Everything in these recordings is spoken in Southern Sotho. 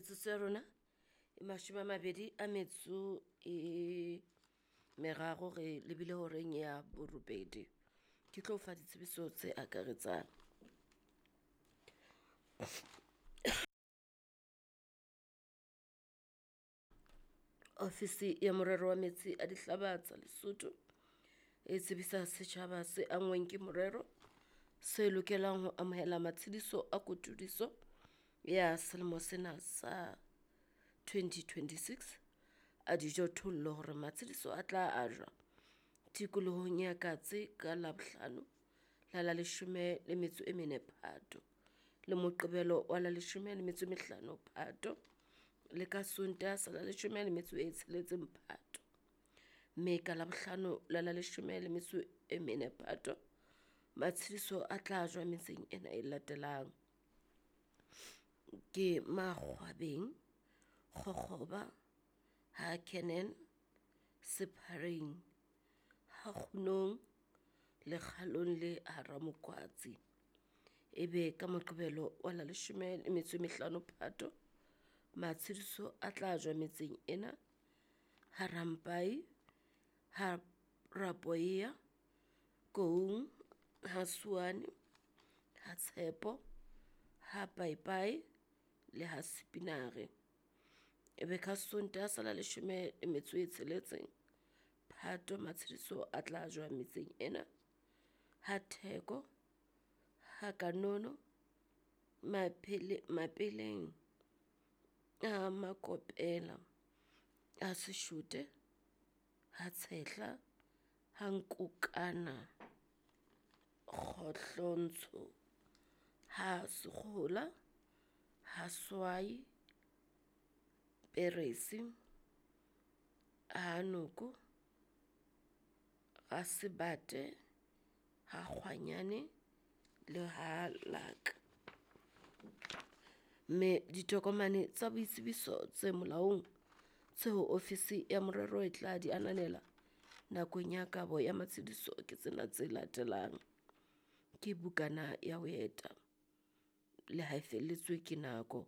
Metsotso ya rona e 23 re lebile horeng ya 8. Ke tlo fa ditsebiso tse akaretsang. Ofisi ya Morero wa Metsi a Dihlaba tsa Lesotho e tsebisa setjhaba se anngweng ke morero se lokelang ho amohela matshediso a kotudiso ya selemo sena sa 2026 a dijothollo hore matshediso a tla ajwa tikolohong ya Katse ka Labohlano la la 14 Phato, le Moqebelo wa la 15 Phato, le ka Sontaha sa la 16 Phato, mme ka Labohlano la la 14 Phato matshediso a tla ajwa metseng ena e latelang, ke Makgwabeng, Kgokgoba, Ha Canaan, Sephareng, Ha Kgunong, Lekgalong le Ha Ramokwatsi. Ebe ka Moqebelo wa la 15 Phato matshediso a tla ajwa metseng ena, Ha Rampai, Ha Rapoea, Koung, Ha Suane, Ha Tshepo, Ha Paipai le Ha Sepinare. Ebe ka Sontaha sa la 16 Phato matshediso a tla ajwa metseng ena, Ha Theko, Ha Kanono, Mapeleng, Ha Makopela, Ha Seshote, Ha Tshehla, Ha Nkokana, Kgohlontsho, Ha Sekgola, Ha Swai, Peresi, Ha Noko, Ha Sebate, Ha Kgwanyane le Ha Laka. Mme ditokomane tsa boitsebiso tse molaong tseo ofisi ya morero e tla di ananela nakong ya kabo ya matshediso ke tsena tse latelang, ke bukana ya ho eta le ha e felletswe ke nako,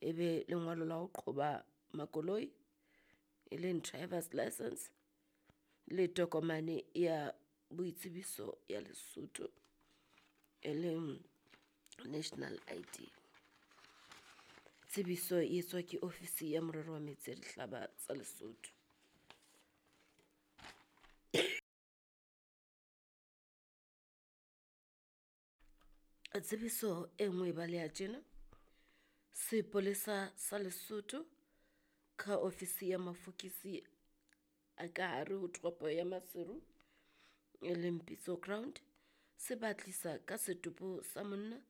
ebe lengolo la ho qhoba makoloi e leng driver's licence, le tokomane ya boitsebiso ya Lesotho e leng national ID. Tsebiso e etswa ke ofisi ya morero wa metsi a dihlaba tsa Lesotho. Tsebiso e nngwe e baleha tjena, Sepolesa sa Lesotho ka ofisi ya mafokisi a ka hare ho toropo ya Maseru e leng Pitso Ground se batlisa ka setopo sa monna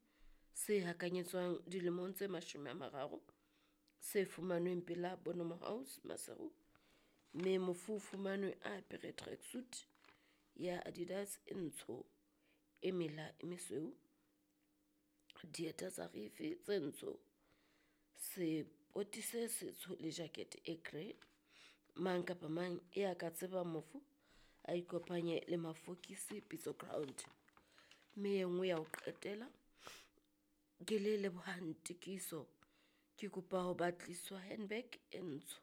se hakanyetswang dilemong tse 30 se fumanweng pela Bonomo House Maseru, mme mofu o fumanwe a apere tracksuit ya Adidas e ntsho e mela e mesweu, dieta tsa rifi tse ntsho, sepoti se setsho le jacket e grey. Mang kapa mang ya ka tsebang mofu a ikopanye le mafokisi Pitso Ground. Mme e nngwe ya ho qetela ke le lebohang tikiso, ke kopa ho batliswa handbag e ntsho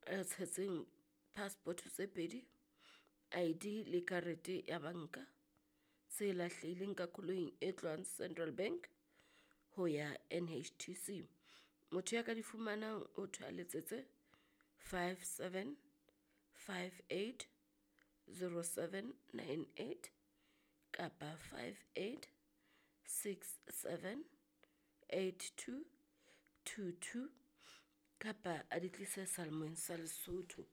e tshetseng passport tse pedi, ID le karete ya banka tse lahlehileng ka koloing e tlohang Central Bank ho ya NHTC. Motho ya ka di fumanang ho thwe a letsetse 57 58 07 98 kapa 58 67 82 22 kapa a di tlise Salmoeng sa Lesotho.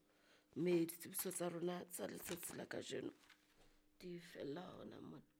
Mme ditsebiso tsa rona tsa letsatsi la kajeno di fella hona mona.